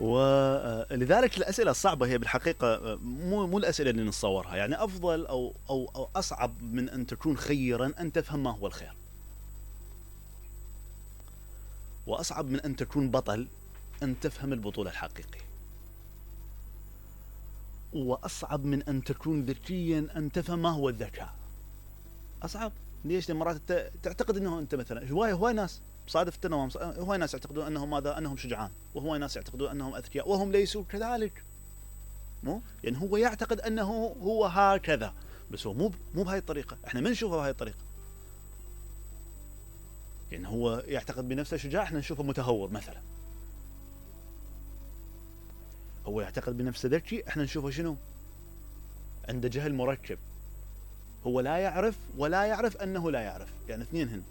ولذلك الأسئلة الصعبة هي بالحقيقة مو الأسئلة اللي نتصورها. يعني أفضل أو أصعب من أن تكون خيرا أن تفهم ما هو الخير، وأصعب من أن تكون بطل أن تفهم البطولة الحقيقية، وأصعب من أن تكون ذكيا أن تفهم ما هو الذكاء. أصعب. ليش؟ لأن مرات تعتقد أنه أنت مثلا هواي ناس صادفت أنهم هواي ناس يعتقدون أنهم ماذا؟ أنهم شجعان، وهواي ناس يعتقدون أنهم أذكياء وهم ليسوا كذلك. مو يعني هو يعتقد أنه هو هكذا، بس هو مو بهاي الطريقة. إحنا ما نشوفه بهاي الطريقة. يعني هو يعتقد بنفسه شجاع، إحنا نشوفه متهور مثلا. هو يعتقد بنفسه ذكي، إحنا نشوفه شنو؟ عنده جهل مركب. هو لا يعرف ولا يعرف أنه لا يعرف، يعني اثنين هن.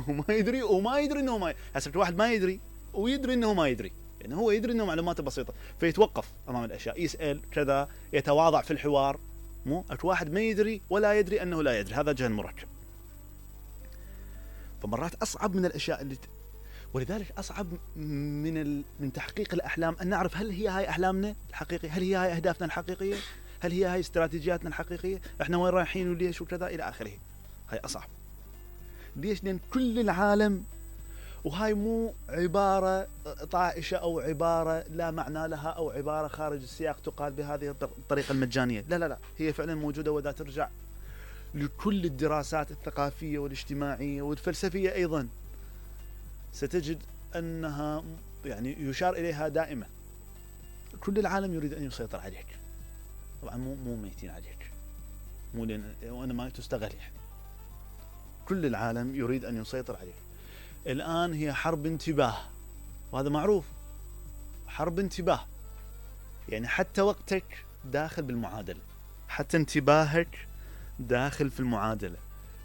وما يدري وما يدري أنه ما هسه واحد ما يدري ويدري أنه ما يدري. يعني هو يدري أنه معلوماته بسيطة فيتوقف أمام الأشياء، يسأل كذا، يتواضع في الحوار. مو واحد ما يدري ولا يدري أنه لا يدري، هذا جهل مركب. فمرات أصعب من الأشياء اللي ولذلك أصعب من تحقيق الأحلام أن نعرف هل هي هاي أحلامنا الحقيقية، هل هي هاي أهدافنا الحقيقية، هل هي هاي استراتيجياتنا الحقيقية، إحنا وين رايحين وليش وكذا إلى آخره. هاي أصعب. ليش؟ لأن كل العالم، وهاي مو عبارة طائشة أو عبارة لا معنى لها أو عبارة خارج السياق تقال بهذه الطريقة المجانية، لا، هي فعلا موجودة. وإذا ترجع لكل الدراسات الثقافية والاجتماعية والفلسفية أيضا ستجد أنها يعني يشار إليها دائما. كل العالم يريد أن يسيطر عليك. طبعا مو ميتين عليك، مو لأن وأنا ما تستغل. يعني كل العالم يريد أن يسيطر عليك. الآن هي حرب انتباه، وهذا معروف. حرب انتباه يعني حتى وقتك داخل بالمعادلة، حتى انتباهك داخل في المعادلة.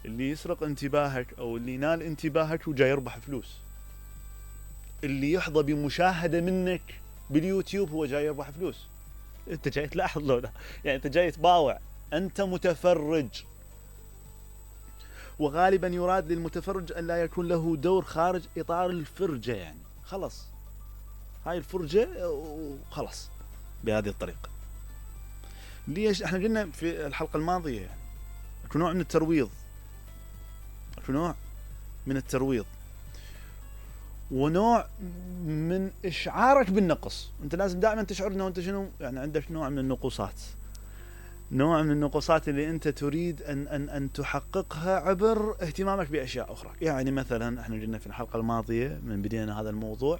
اللي يسرق انتباهك أو اللي ينال انتباهك وجاي يربح فلوس. اللي يحظى بمشاهدة منك باليوتيوب هو جاي يربح فلوس. انت جاي تلاحظ له، يعني انت جاي تباوع، انت متفرج. وغالبا يراد للمتفرج ان لا يكون له دور خارج اطار الفرجة. يعني خلص هاي الفرجة وخلص بهذه الطريقة. ليش؟ احنا قلنا في الحلقة الماضية يعني اكو نوع من الترويض، اكو نوع من الترويض ونوع من إشعارك بالنقص. أنت لازم دائما تشعر أنه أنت شنو، يعني عندك نوع من النقوصات، نوع من النقوصات اللي أنت تريد أن تحققها عبر اهتمامك بأشياء أخرى. يعني مثلا احنا قلنا في الحلقة الماضية من بدينا هذا الموضوع،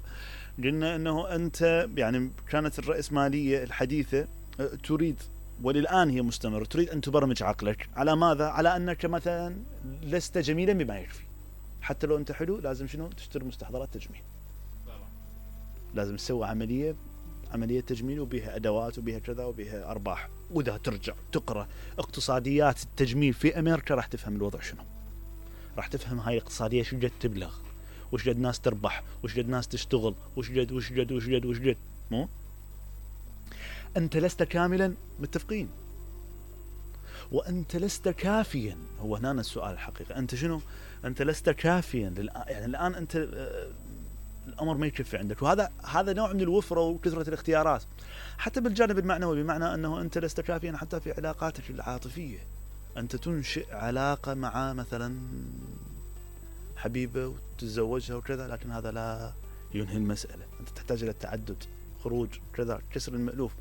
قلنا أنه أنت يعني كانت الرأسمالية الحديثة تريد، وللآن هي مستمرة، تريد أن تبرمج عقلك على ماذا؟ على أنك مثلا لست جميلا بما يكفي. حتى لو أنت حلو لازم شنو؟ تشتري مستحضرات تجميل. لازم تسوي عملية تجميل وبيها أدوات وبيها كذا وبيها أرباح. وإذا ترجع تقرأ اقتصاديات التجميل في أمريكا راح تفهم الوضع شنو. راح تفهم هاي الاقتصادية شو جد تبلغ، وش جد ناس تربح، وش جد ناس تشتغل، وش جد. مو أنت لست كاملا، متفقين؟ وأنت لست كافيا. هو هنا السؤال الحقيقي، أنت شنو؟ أنت لست كافيا. يعني الآن أنت الأمر ما يكفي عندك. وهذا نوع من الوفرة وكثرة الاختيارات حتى بالجانب المعنوي، بمعنى أنه أنت لست كافيا حتى في علاقاتك العاطفية. أنت تنشئ علاقة مع مثلا حبيبة وتتزوجها وكذا، لكن هذا لا ينهي المسألة. أنت تحتاج إلى التعدد، خروج كذا، كسر المألوف.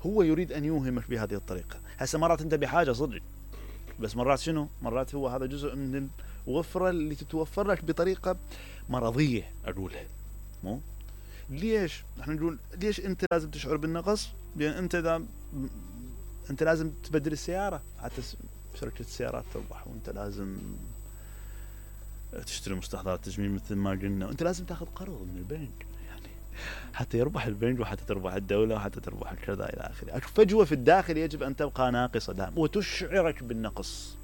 هو يريد أن يوهمك بهذه الطريقة. هسه مرات أنت بحاجة صدق، بس مرات شنو؟ مرات هو هذا جزء من الوفرة اللي تتوفر لك بطريقة مرضية أقولها. مو ليش احنا نقول ليش انت لازم تشعر بالنقص؟ لان انت لازم تبدل السيارة حتى شركة السيارات تربح، وانت لازم تشتري مستحضرات تجميل مثل ما قلنا، وانت لازم تاخذ قرض من البنك يعني حتى يربح البنك وحتى تربح الدولة وحتى تربح كذا الى اخره. فجوة في الداخل يجب ان تبقى ناقصة دائما وتشعرك بالنقص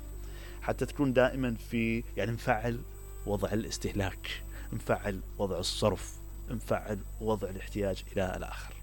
حتى تكون دائما في يعني مفعل وضع الاستهلاك، مفعل وضع الصرف، مفعل وضع الاحتياج إلى الآخر.